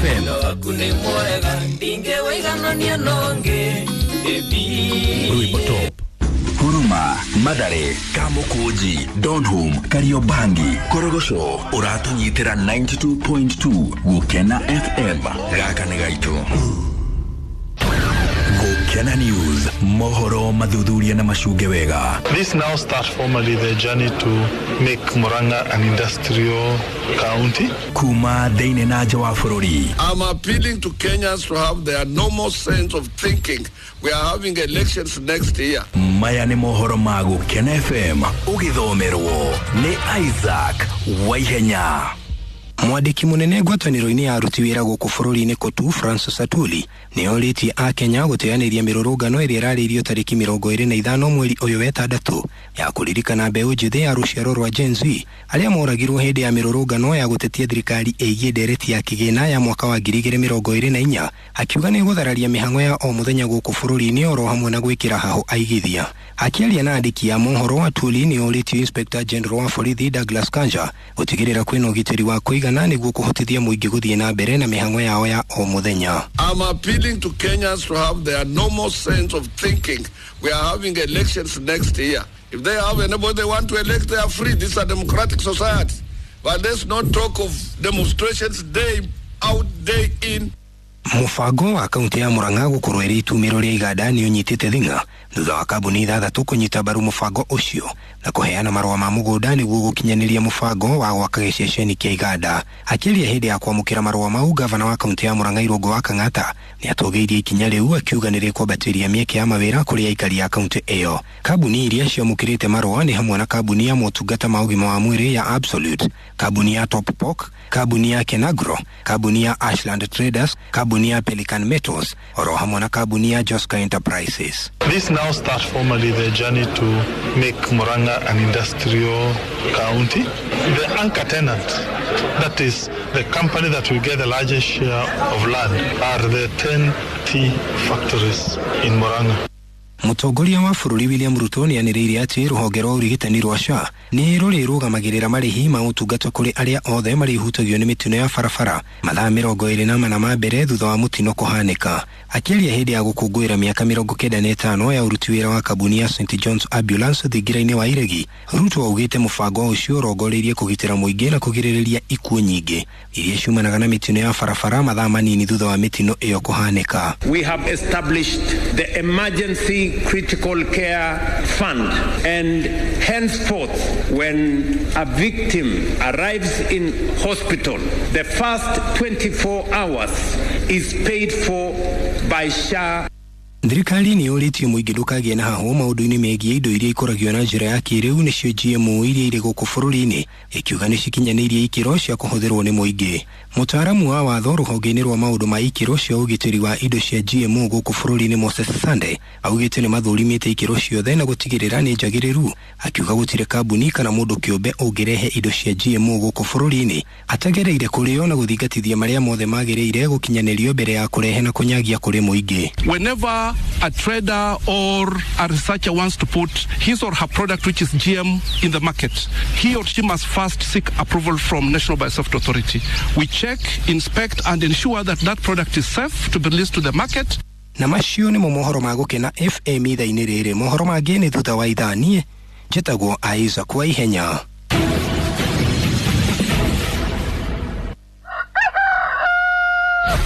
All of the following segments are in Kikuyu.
FM. Rwimbo Top. Huruma, Mathare, Kamukunji, Donholm, Kariobangi, Korogocho, ũratũnyitĩra 92.2 Gũkena FM. Gaka nĩ gaitũ. Gũkena News, mohoro mathuthuria na macunge wega. This now starts formally the journey to make Murang'a an industrial county. Kuma thĩinĩ na nja wa bũrũri. I'm appealing to Kenyans to have their normal sense of thinking. We are having elections next year. Maya nĩ mohoro ma Gũkena FM, ũgĩthomerwo nĩ Isaac Waihenya. Mwandĩki mũnene ngwatanĩro-inĩ ya aruti wĩra gũkũ bũrũri-inĩ KOTU Francis Atwoli nĩ orĩtie akenya gũteanĩria mĩrũrũngano ĩrĩa ĩrarĩirio tarĩki 25 mweri ũyũ wetandatũ ya kũririkana mbeũ njĩthĩ ya rũciaro rwa Gen Z arĩa moragirwo hĩndĩ ya mĩrũrũngano ya gũtetia thirikari ĩgiĩ ndereti ya kĩgĩna ya mwaka wa 2024, akiuga nĩ gũthararia mĩhang'o ya o mũthenya gũkũ bũrũri-inĩ oro hamwe na gwĩkĩra hahũ aigithia. Akĩaria na andĩki a mohoro, Atwoli nĩ orĩtie Inspector General wa borithi Douglas Kanja gũtigĩrĩra kwĩna ũgitĩri wa kũigana nĩguo kũhotithia mũingĩ gũthiĩ na mbere na mĩhang'o yao ya o mũthenya. I'm appealing to Kenyans to have their normal sense of thinking. We are having elections next year. If they have anybody they want to elect, they are free. This is a democratic society. But let's not talk of demonstrations day out, day in. Mũbango wa kaunti ya Murang'a gũkorwo ĩrĩ itumĩro rĩa iganda nĩ ũnyitĩte thing'a thutha wa kambuni ithathatũ kũnyita mbaru mũbango ũcio na kũheana marũa ma mũgũnda nĩguo gũkinyanĩria mũbango wa gwaka gĩceceni kĩa iganda. Akĩaria hĩndĩ ya kwamũkĩra marũa mau, gavana wa kaunti ya Murang'a Irũngũ wa Kang'ata nĩ atũgĩirie ikinya rĩu akiuga nĩ rĩkwambatĩria mĩeke ya mawĩra kũrĩ aikari a kaunti ĩyo. Kambuni iria ciamũkĩrĩte marũa nĩ hamwe na kambuni ya motungata ma ũgima wa mwĩrĩ ya Absolute, kambuni ya Top Pork, kambuni ya Kenagro, kambuni ya Ashland Traders, kambuni ya Pelican Metals oro hamwe na kambuni ya Joska Enterprises. This now starts formally the journey to make Murang'a an industrial county. The anchor tenant, that is the company that will get the largest share of land, are the 10 tea factories in Murang'a. Mũtongoria wa bũrũri William Ruto nĩ anĩrĩire atĩ rũhonge rwa ũrigitani rwa SHA nĩ rũrĩrũgamagĩrĩra marĩhi ma ũtungata kũrĩ arĩa othe marĩhutagio nĩ mĩtino ya barabara mathaa 24 ma mbere thutha wa mũtino kũhanĩka. Akĩaria hĩndĩ ya gũkũngũĩra mĩaka 95 ya ũruti wĩra wa kambuni ya St John's Ambulance thingira-inĩ wa Iregi, Ruto augĩte mũbango ũcio ũrongoreirie kũgitĩra mũingĩ na kũgirĩrĩria ikuũ nyingĩ iria ciumanaga na mĩtino ya barabara mathaa manini thutha wa mĩtino ĩyo kũhanĩka. We have established the emergency critical care fund, and henceforth when a victim arrives in hospital, the first 24 hours is paid for by SHA. Thirikari nĩ yũrĩtie mũingĩ ndũkagĩe na hahũ maũndũ-inĩ megiĩ indo iria ikũragio na njĩra ya kĩrĩu nĩcio GMO iria irĩ gũkũ bũrũri-inĩ, ĩkiuga nĩ cikinyanĩirie ikĩro cia kũhũthĩrwo nĩ mũingĩ. Mũtaaramu wa watho rũhonge-inĩ rwa maũndũ ma ikĩro cia ũgitĩri wa indo cia GMO gũkũ bũrũri-inĩ Moses Sande augĩte nĩ mathũrimĩte ikĩro ciothe na gũtigĩrĩra nĩ njagĩrĩru, akiuga gũtirĩ kambuni kana mũndũ kĩũmbe ũngĩrehe indo cia GMO gũkũ bũrũri-inĩ atagereire kũrĩo na gũthingatithia marĩa mothe magĩrĩire gũkinyanĩrio mbere ya kũrehe na kũnyagia kũrĩ mũingĩ. Whenever a trader or a researcher wants to put his or her product, which is GM, in the market, he or she must first seek approval from National Biosafety Authority. We check, inspect, and ensure that that product is safe to be released to the market. Na macio nĩmo mohoro ma Gũkena FM ithaa-inĩ rĩrĩ. Mohoro mangĩ nĩ thutha wa ithaa. Niĩ njĩtagwo Isaac Waihenya.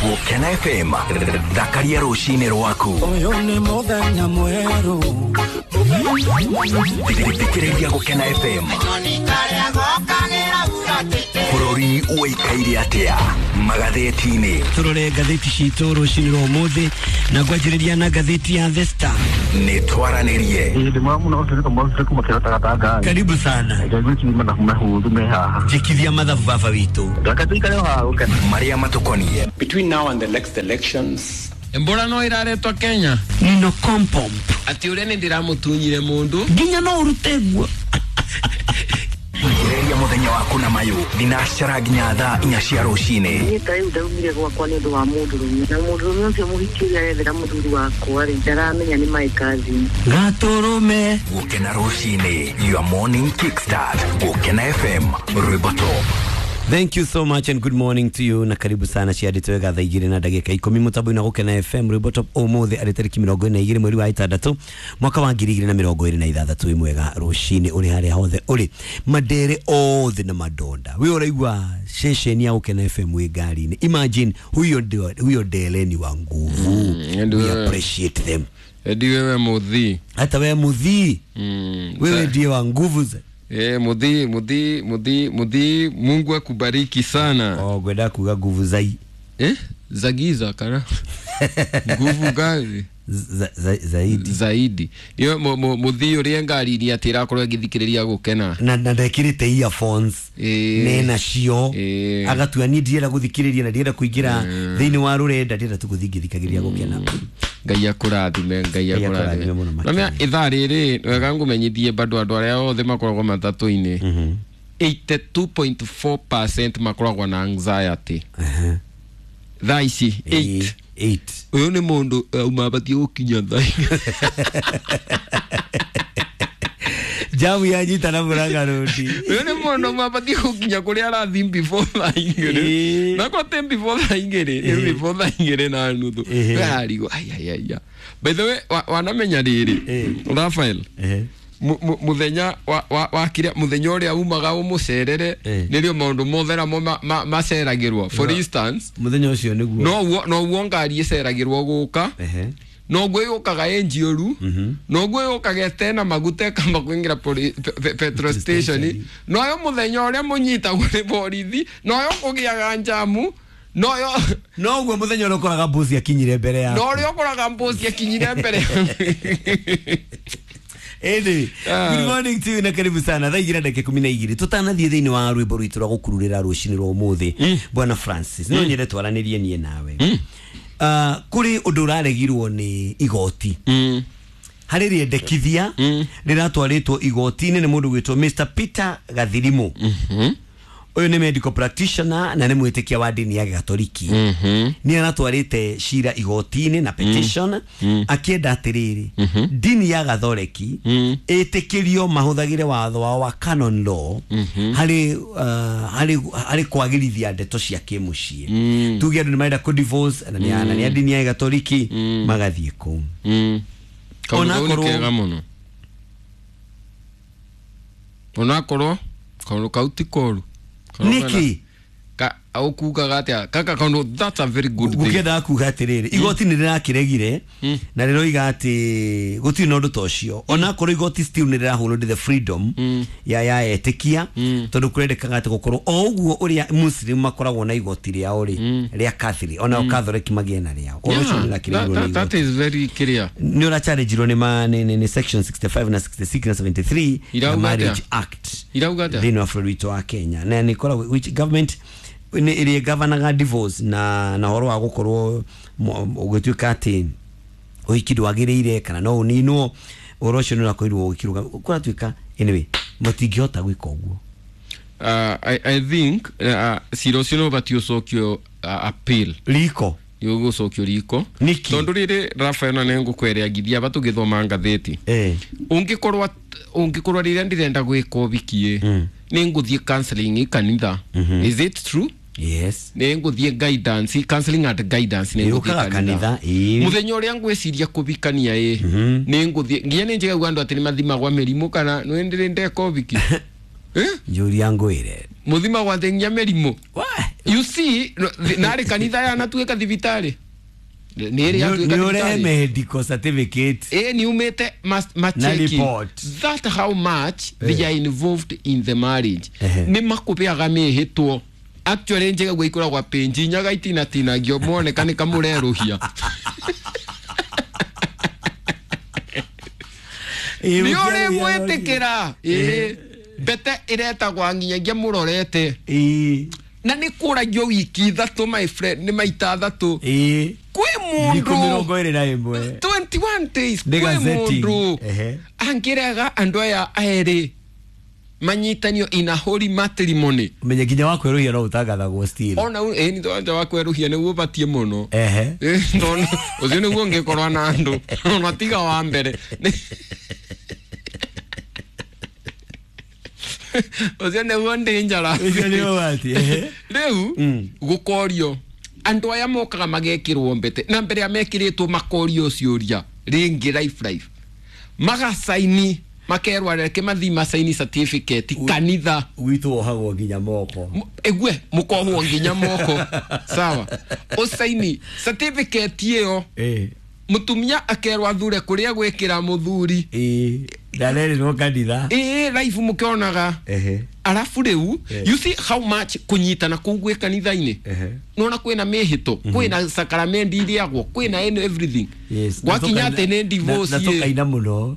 Gũkena FM, thakaria rũcinĩ rwaku. Ũyũ nĩ mũthenya mwerũ. Thikĩrĩria Gũkena FM. Bũrũri ũikaire atĩa magathĩti-inĩ? Tũrore ngathĩti citũ rũcinĩ rwa ũmũthĩ na ngwanjĩrĩria na ngathĩti ya The Star. Nĩ twaranĩrie. Karibu sana. Njĩkithia mathabu baba witũ. Marĩa matũkoniĩ. Between now and the next elections, Mbura no iraretwo Kenya. Nino kompomp. Ati uria ni ndiramutunyire mundu. Nginya no urute guo. Njĩrĩria mũthenya waku na mayũ thinacara nginya thaa 4 cia rũcinĩ. Niĩ ta rĩu ndaumire gwakwa nĩ ũndũ wa mũndũrũme, na mũndũrũme ũcio mũhiki ũrĩa arethera mũthuri wakwa rĩ, ndaramenya nĩ my cousin. Gatũrũme. Gũkena rũcinĩ, your morning kickstart. Gũkena FM, rwĩmbo top. Thank you so much and good morning to you na karibu sana ciandĩtwo wega thaa igĩrĩ na ndagĩka ikũmi mũtambo-inĩ wa Gũkena FM rwĩmbo top ũmũthĩ arĩ tarĩki 22 mweri wa ĩtandatũ mwaka wa 2026. Wĩ mwega rũcinĩ ũrĩ harĩa hothe ũrĩ, mandere othe na madonda wĩ ũraigua ceceni ya Gũkena FM wĩ ngari-inĩ. Imagine huyo ndio huyo ndeleni wa nguvu. We appreciate them. Edi wewe muthi, hata wewe muthi, wewe ndiye wa nguvu za muthi muthi muthi muthi, Mungu akubariki sana. Oh, gwenda kuga nguvu zai za giza kana nguvu gani zaidi zaidi niyo muthi uria ngari-inĩ atĩ ĩrakorwo ĩgĩthikĩrĩria Gũkena na ndekĩrĩte earphones nena cio agatua niĩ ndienda gũthikĩrĩria na ndienda kũingĩra thĩinĩ wa rũrenda, ndienda tu gũthiĩ ngĩthikagĩrĩria Gũkena. Ngai akũrathime, Ngai akũrathime. Namia ithaa rĩrĩ wega ngũmenyithie bado andũ arĩa othe makoragwo matatũ-inĩ 82.4% makoragwo na anxiety thaa ici. 8 ũyũ nĩ mũndũ auma abatiĩ gũkinya thaa jamu yanyita na Murang'a Road. Ũyũ nĩ mũndũ auma abatiĩ gũkinya kũrĩa arathiĩ before thaa igĩrĩ, na ko te before thaa igĩrĩ nĩ before thaa igĩrĩ na nuthu arigwo aiaiaia. By the way, wanamenya rĩrĩ Raphael, muthenya wa kiria muthenya uria umaga umucerere nirio maundu mothe namo maceragirwo. For instance, muthenya ucio niguo no ngari iceragirwo guka, noguo yukaga ĩ njiũru, noguo yukaga ĩtena maguta ĩkamba kũingĩra petrol station, noyo muthenya ũrĩa mũnyitagwo nĩ borithi, noyo kũgĩaga njamu, noyo noguo muthenya ũrĩa ũkoraga mbuzi akinyire mbere yaku, no ũrĩa ũkoraga mbuzi akinyire mbere. Anyway, good morning to you na karibu sana. Thaa igĩrĩ na ndagĩka 12 tũtanathiĩ thĩinĩ wa rwĩmbo rwitũ rwa gũkururĩra rũcinĩ rwa ũmũthĩ. Bwana Francis, no nyende twaranĩrie niĩ nawe. Kũrĩ ũndũ ũraregirwo nĩ igoti harĩ rĩendekithia rĩratwarĩtwo igoti-inĩ nĩ mũndũ gwĩtwo Mr Peter Gathirimu. Ũyũ nĩ medical practitioner na nĩ mwĩtĩkia wa ndini ya Gatoliki. Nĩ aratwarĩte cira igoti-inĩ na petition akĩenda atĩrĩrĩ, ndini ya Gatholeki ĩtĩkĩrio mahũthagĩre watho wao wa canon law harĩ harĩ kwagĩrithia ndeto cia kĩmũciĩ. Tuge andũ nĩ marenda kũ divorce na nĩ a ndini ya Gatoliki magathiĩ kũu. Kaũndũ kau nĩ kega mũno, onakorwo kaũndũ kau ti koru. Niki ka okugaga atia kaka kaundu, that's a very good thing. Gũkĩendaga kuga atĩrĩrĩ, igoti nĩ rĩrakĩregire na rĩroiga atĩ gũtirĩ na ũndũ ta ũcio, onakorwo igoti still nĩ rĩrahũrwo the freedom ya etĩkia, tondũ kũrendekaga atĩ gũkorwo o ũguo ũrĩa Muslim makoragwo na igoti rĩao rĩ rĩa Catholic, onao Catholic magĩe na rĩao. Ũndũ ũcio nĩ ũrakĩregirwo nĩ igoti. That is very clear. Nĩ ũrachallengeirwo nĩ section 65 na 66 na 73 ya Marriage Act thĩinĩ wa bũrũri witũ wa Kenya, na nĩ ĩkoragwo which government nĩ ĩrĩa gavanaga divorce na horo wa gũkorwo ũgĩtuĩka atĩ ũhiki ndwagĩrĩire kana no ũninwo, ũhoro ũcio nĩ ũrakorirwo ũgĩkĩrũga kũratuĩka. Anyway, matingĩhota gwĩka ũguo. I think cira ũcio nĩ ũbatiĩ ũcokio appeal riko, nĩ ũgũcokio riko tondũ rĩrĩ Raphael, na nĩ ngũkwĩra ngithia aba tũgĩthoma ngathĩti, ũngĩkorwo rĩrĩa ndĩrenda gwĩka ũhiki nĩ ngũthiĩ counseling kanitha. Is it true? Yes. Nĩ ngũthiĩ guidance, counseling and guidance nĩ ngũthiĩ kanitha. Mũthenya ũrĩa ngwĩciria kũhikania ĩ nĩ ngũthiĩ nginya nĩ njigagua andũ atĩ nĩ mathimagwa mĩrimũ kana nĩ ndĩrĩ ndeka ũhiki. Njũria ngwĩre mũthimagwa atĩ nginya mĩrimũ. You see, narĩ kanitha yanatuĩka thibitarĩ. Nĩ ũrehe medical certificate. Nĩ umĩte macheki. That how much they are involved in the marriage. Nĩ makũbeaga mĩhĩtwo. Actually njigagua ikoragwa penji nyaga itinatinagio moneka nĩ kamũrerũhia. Nĩ ũrĩ mwĩtĩkĩra mbete ĩretagwa nginyagia mũrorete na nĩ kũragio wiki ithatũ, my friend, nĩ maita athatũ. Kwĩ mũndũ 21 days, kwĩ mũndũ angĩrega andũ aya erĩ manyitanio in a holy matrimony. Menye nginya wa kwerũhia no ũtangathagwo still. Ona nĩ twanja wa kwerũhia nĩguo ũbatiĩ mũno. Tondũ ũcio nĩguo ũngĩkorwo na andũ ona tiga wa mbere. Ucio nĩguo dangerous. Ucio nĩ ũgwati, ehe. Rĩu gũkorio andũ aya mokaga magekĩrwo mbete na mbere ya mekĩrĩtwo makorio ciũria rĩngĩ life magasaini makerwo reke mathi masaini certificate kanitha witũ wohagwo nginya moko. Egue mukohwo nginya moko sawa usaini certificate iyo mutumia akerwo athure kuria gwikira muthuri ndarererwo kanitha life mukionaga arafu riu you see how much kunyitana kuu gwi kanitha-ini nona kwina mihito kwina sakramendi iriagwo kwina everything. Yes. Gwakinya ati ni divorce na tukaina muno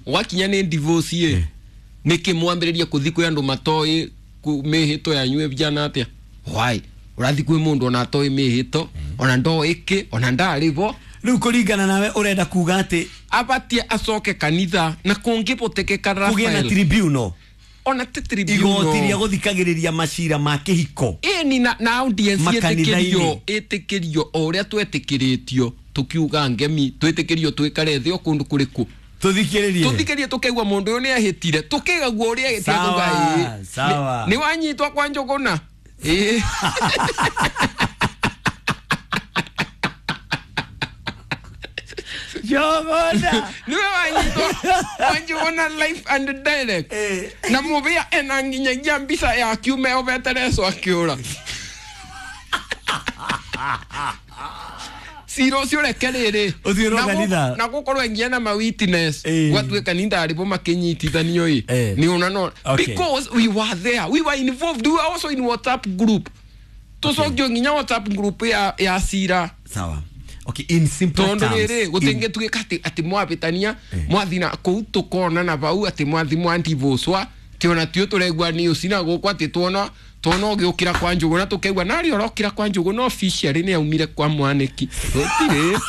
gwakinya ni divorce ye niki mwambiririe kuthi kwi andu matoi mihito yanyu vijana atia why urathi kwi mundu ona atoi mihito ona ndo iki ona ndari bo riu kuringana nawe urenda kuga ati abatie acoke kanitha na kungibotekeka kugia na Rafael tribunal ona ti tribunal igoti ria guthikagiriria macira ma kihiko ĩni na audience Makanitha-inĩ. ĩtĩkĩrio ĩtĩkĩrio o ũrĩa twetĩkĩrĩtio tukiuga ngemi twĩtĩkĩrio twĩkare thĩ o kũndũ kũrĩkũ tuthikiririe tuthikĩrie tũkaigua mũndũ ũyũ nĩ ahĩtire tũkĩgaguo ũrĩa ahĩtire Sawa, tũkauga ĩĩ. sawa. Nĩ wanyitwo kwa Njũgũna ĩĩ Njũgũna niwe wanyitwo kwa Njũgũna live and direct na mũbĩa ena nginyagia mbica ya kiume obete leso akiũra cira ũcio reke rĩrĩ Ũthiĩ Na kanitha. na gũkorwo nginya na ma witness gwatuĩka nĩ ndarĩ makĩnyitithanio ĩ nĩ ona no Okay. because we were there, we were involved, we were also in WhatsApp group tũcokio nginya WhatsApp group ya cira sawa. Okay, in simple tondu terms rĩrĩ gũtingĩtuĩka atĩ mwabĩtania mwathi na kũu tũkonana bau atĩ mwathi mwandivũcwa ti ona tio tũraigua news na gũkũ atĩ tuona ũgĩũkĩra kwa Njũgũna tũkaigua narĩ ũrokĩra kwa Njũgũna officially nĩ aumire kwa Mwanĩki gũtirĩ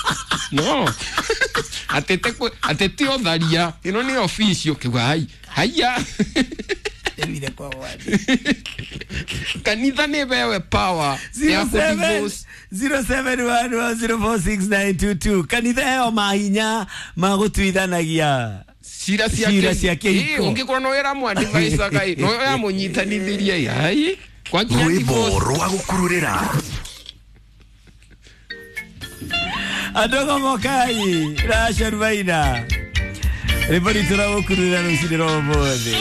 no atĩ ti ũtharia ĩno nĩ official ũkĩigua hai haiya kanitha nĩ bewe power ya kũdivorce 0711046922 kanitha ĩyo mahinya ma gũtuithanagia cira cia kĩhiko ũngĩkorwo no wĩra mwadivaicaga ĩ no yamũnyitanithirie ai kwa nginya Rwĩmbo divorce rwa gũkururĩra andũ mokai racarubaina rwĩmbo ritũ rwa gũkururĩra rũcinĩ rwa ũmũthĩ.